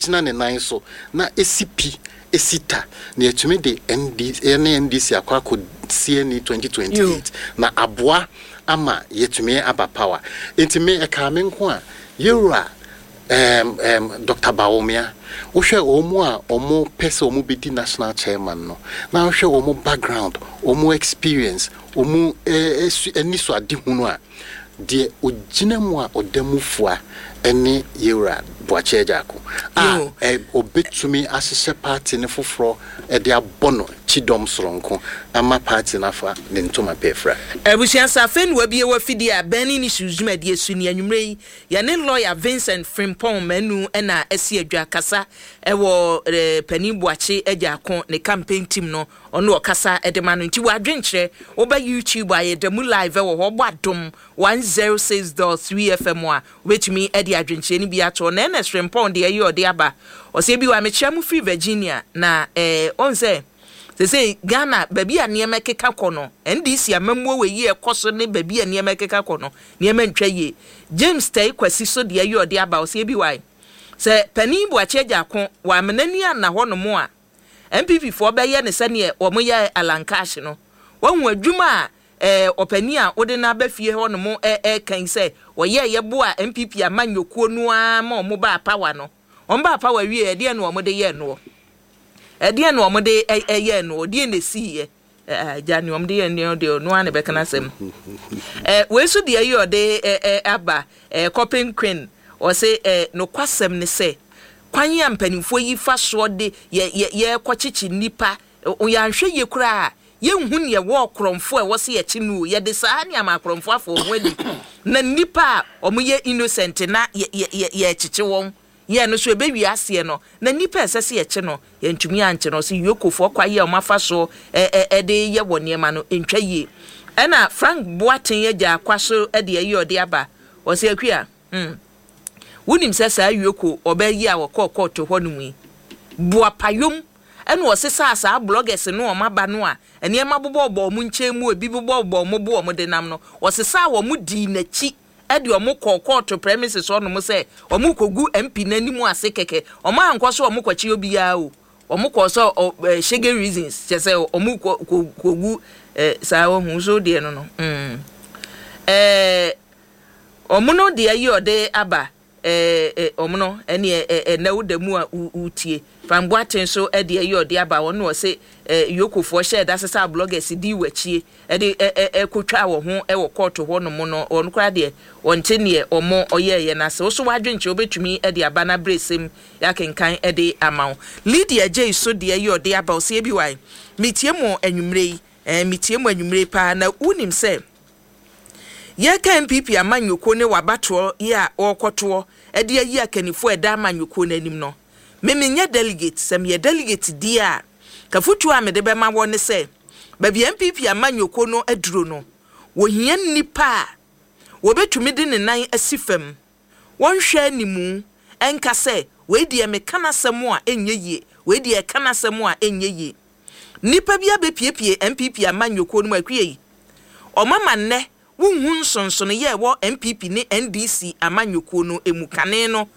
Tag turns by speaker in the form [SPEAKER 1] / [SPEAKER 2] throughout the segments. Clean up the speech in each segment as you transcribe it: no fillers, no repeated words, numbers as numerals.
[SPEAKER 1] Egyina ne nan so na esi pi, esi ta, na yɛatumi de ND, yɛne NDC akɔ akɔ CNE 2028 na aboa ama yɛatumi aba power. Nti me, ɛkaa me nko a, yɛwura Doctor Bawumia, wohwɛ wɔn a wɔn pɛ sɛ wɔn bɛdi national chairman no, na wohwɛ wɔn background, wɔn experience, wɔn anisoadehunu a, deɛ ɔgyina mu a ɔda mu fua ne Yewura Boakye Agyarko a ɔbɛtumi ahyehyɛ party no foforɔ de abɔ no kyidɔm soronko ama party no afa ne ntoma pɛ afira.
[SPEAKER 2] Abusua sɛ afei na wabue w'afidie a, Burning Issues dwumadie so ni. Anwummerɛ yi, yɛne lɔya Vincent Frimpong Manu na asi adwa kasa wɔ Panin Boakye Agyarko ne campaign team no. Ɔno ɔkasa de ma no nti w'adwenkyerɛ woba YouTube a yɛda mu live wɔ hɔ wobɔ Adom 106.3 FM a wobɛtumi de adwenkyerɛ no bi ato hɔ. Na Ernest Frimpong deɛ ɛyɛ ɔde aba ɔsɛ bi wa mekyerɛ mo firi Virginia na eh, ɔn sɛ sesei Ghana baabi a nneɛma ɛkeka kɔ no NDC amammuo wɔ yi ɛkɔ so ne baabi a nneɛma ɛkeka kɔ no nneɛma ntwa yie. James Tɛi Kwasi so deɛ ɛyɛ ɔde aba ɔsɛ bi wa sɛ Panin Boakye Agyarko wɔ amenani anna hɔ nom a NPP foɔ bɛyɛ no sɛdeɛ wɔn yɛɛ Alan Cash no. Wahu adwuma a eh, ɔpanin a wode no aba fie hɔ nom ɛɛka yi sɛ wɔyɛɛyɛ boaa NPP amanyɔkuo no ara ma wɔn baa power no. Wɔn baa power wieɛ ɛdeɛn na wɔn de yɛɛ noɔ? Ɛdeɛn na wɔn de yɛɛ noɔ? Deɛn na ɛsiiɛ? Agya, nea wɔde yɛ nneɛma deɛ ɔno ara na ɛbɛka n'asɛm. Wei nso deɛ yi ɔde aba, Kɔpen Quinn, ɔse nokwasɛm ne sɛ kwan a mpanimfoɔ yi fa soɔ de yɛ yɛ yɛrekɔkyekye nnipa, yɛanhwɛ yie koraa a, yɛnhu nea ɛwɔ ɔkorɔmfoɔ a ɛwɔ sɛ yɛkye no o. Yɛde saa nneɛma akorɔmfoɔ afa wɔn ho adi, na nnipa a wɔyɛ innocent na yɛ yɛ yɛ yɛrekyekye wɔn. Yɛɛ no so ɛbɛwie aseɛ no, na nnipa a ɛsɛ sɛ yɛkye no, yɛntumi ankye no. Ɔse Yokofoɔ kwa yi a wɔafa soɔ de reyɛ wɔn nneɛma no, ɛntwa yie. Ɛna Frank Boateng agya kwa so de ayi ɔde aba. Ɔse Akua, hmm, wonim sɛ saa Yoko ɔbaa yi a ɔkɔɔ kɔɔto hɔ nom yi, boapayom ɛna ɔsesaa saa bloggers no wɔn aba no a nneɛma bobɔbobɔ wɔn nkyɛn mu, ebi bobɔbobɔ wɔn bo wɔn de nam no, ɔsesaa wɔn dii n'akyi de wɔn kɔɔ kɔɔto premises hɔ nom sɛ wɔn rekɔgu MP no anim ase kɛkɛ. Wɔn ankɔ sɛ wɔn kɔkye obiara o. Wɔn kɔɔ sɛ ɔ ɛ shege reasons, kyerɛ sɛ wɔn kɔ kɔ kɔgu ɛ saa wahu so deɛ no no. Mm. Ɛɛ wɔn no deɛ yi ɔde aba. Eh eh ɔmono ɛneɛ eh ɛnɛ wo da mu a wo wotie. Frank Boateng nso ɛde ɛyɛ ɔde aba ɔno na ɔse eh Yokofoɔ hyɛɛ da sesaa bloggers dii wakyie ɛde ɛ ɛ ɛkotwaa wɔ ho ɛwɔ kɔɔto hɔ nom no ɔno koraa deɛ ɔnte neɛ ɔmo ɔyɛɛyɛ no ase. Wo so w'adwenkyerɛ wobɛtumi ɛde aba na abrɛsɛm yɛakenkan ɛde ama wo. Lydia Gyei so deɛ ɛyɛ ɔde aba ɔse ABY metie mo anwummerɛ yi eh metie mo anwummerɛ yi paa na wonim sɛ Yɛreka NPP amanyɔkuo ne w'abatoɔ yi a wɔrekɔtoɔ de ayi akannifoɔ a ɛda amanyɔkuo no anim no, me menyɛ delegate, sɛ meyɛ delegate deɛ a, afotuo a mede bɛma wɔn ne sɛ, baabi a NPP amanyɔkuo no aduro no, wɔhia nnipa a wɔbɛtumi de ne nan asi fam, wɔnhwɛ animu nka sɛ, wei deɛ meka n'asɛm a ɛnyɛ yie, wei deɛ ɛka n'asɛm a ɛnyɛ yie. Nnipa bi abɛpiepie NPP amanyɔkuo no mu akua yi. Wɔama nnɛ wonhu nsonsonoeɛ a ɛwɔ NPP ne NDC amanyɔkuo no mu. Kane no,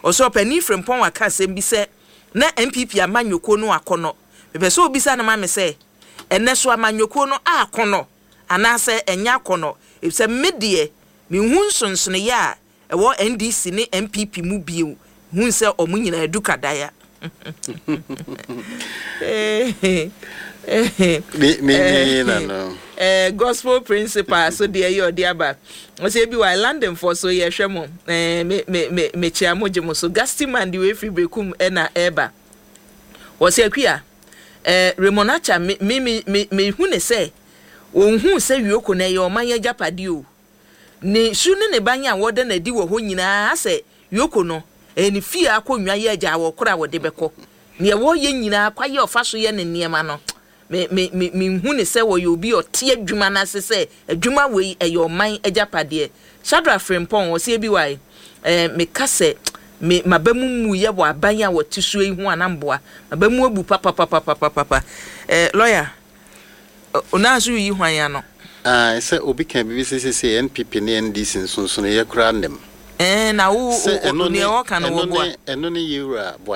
[SPEAKER 2] ɔsɛ ɔpanin Frimpong aka asɛm bi sɛ na NPP amanyɔkuo no akɔnnɔ. Mepɛ sɛ wobisa no ma me sɛ, ɛnnɛ so amanyɔkuo no akɔnnɔ anaasɛ ɛnyɛ akɔnnɔ? Efisɛ me deɛ menhu nsonsonoeɛ a ɛwɔ NDC ne NPP mu bio hun sɛ ɔmo nyinaa du kadaya. Gospel principal so deɛ yɛ ɔde aba ɔsɛ ebi wa London foɔ so yɛhwɛ mo me me me mekyia mo gye mo so Gusty man de wei firi Berekum ɛna ɛɛba ɔsɛ Akua ɛɛ Raymond Acha me me me me hu ne sɛ wɔn hu sɛ Wioko na ɛyɛ ɔman agyapadeɛ o. Ne su ne ne ban a wɔda no adi wɔ hɔ nyinaa sɛ Yoko no, ɛyɛ ne fie akonnwa yɛ agyaawɔkoro a wɔde bɛkɔ. Nea wɔyɛ nyinaa, kwae a ɔfa so yɛ ne nneɛma no, me, me, me, minhu no sɛ ɔyɛ obi a ɔte adwuma no ase sɛ adwuma wei, ɛyɛ ɔman agyapadeɛ. Shadrack Frimpong, ɔse ABY, eh, meka sɛ me, m'aba mu mmuiɛ wɔ aban a wɔte soɔ yi ho a na mboa. M'aba mu abu papapapapapapa. Eh, lawyer, Onaa so reyi hwan ano?
[SPEAKER 1] Ae, sɛ obi ka biribi sɛ seesei NPP ne NDC nsonsonoeɛ koraa nnim.
[SPEAKER 2] Ɛɛ, na wo,
[SPEAKER 1] Sɛ ɛno ne,
[SPEAKER 2] nea ɔka no
[SPEAKER 1] ɛno
[SPEAKER 2] wɔboa?
[SPEAKER 1] ne, ɛno ne Yewura Boakye.